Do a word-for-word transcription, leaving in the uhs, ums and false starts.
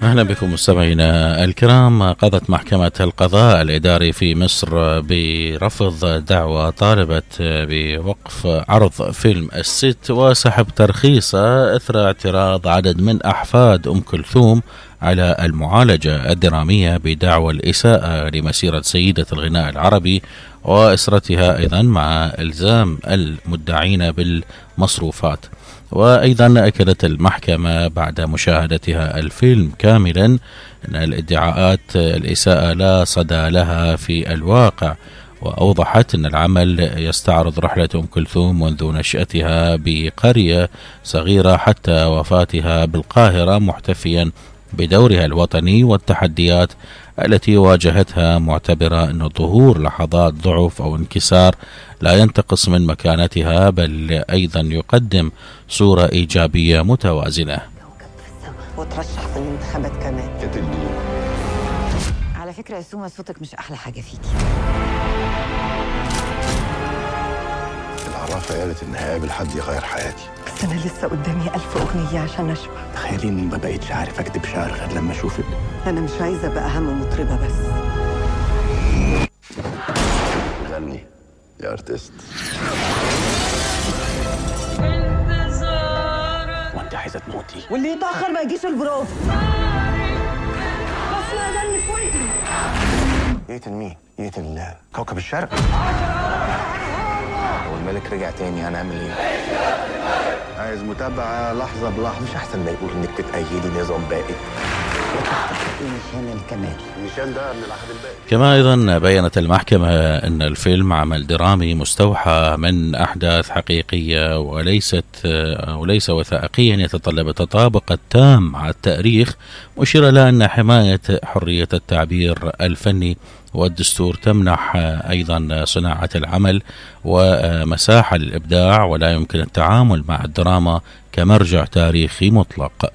أهلا بكم مستمعينا الكرام. قضت محكمة القضاء الإداري في مصر برفض دعوى طالبة بوقف عرض فيلم الست وسحب ترخيصه إثر اعتراض عدد من أحفاد أم كلثوم على المعالجة الدرامية بدعوى الإساءة لمسيرة سيدة الغناء العربي وأسرتها، أيضا مع إلزام المدعين بالمصروفات. وأيضا أكدت المحكمة بعد مشاهدتها الفيلم كاملا أن الادعاءات الإساءة لا صدى لها في الواقع، وأوضحت أن العمل يستعرض رحلة أم كلثوم منذ نشأتها بقرية صغيرة حتى وفاتها بالقاهرة، محتفيا بدورها الوطني والتحديات التي واجهتها، معتبرة أن ظهور لحظات ضعف أو انكسار لا ينتقص من مكانتها، بل أيضا يقدم صورة إيجابية متوازنة. وترشح في الانتخابات كمان. كتلني على فكرة يا سوما، صوتك مش أحلى حاجة فيكي. العرافة قالت إن هقابل حد يغير حياتي، بس أنا لسه قدامي ألف أغنية عشان أشبع. تخيلي إني ما بقيتش عارف أكتب شعر غير لما أشوفك. أنا مش عايزة أبقى أهم مطربة بس. غني يا ارتست. وانت عايزه تموتي؟ واللي يتأخر ما يجيش البروف. بس لا أغني في ودني. يقتل مين؟ يقتل كوكب الشرق. لو الملك رجع تاني هنعمل ايه؟ عايز متابعه لحظه بلحظه، مش احسن ما يقول انك تتأيدي نظام باقي؟ نيشان الكمال. نيشان ده من العهد الباقي. كما أيضا بيّنت المحكمة أن الفيلم عمل درامي مستوحى من أحداث حقيقية وليست وليس وثائقيا يتطلب التطابق التام مع التاريخ، مشيرة إلى أن حماية حرية التعبير الفني والدستور تمنح أيضا صناعة العمل ومساحة للإبداع، ولا يمكن التعامل مع الدراما كمرجع تاريخي مطلق.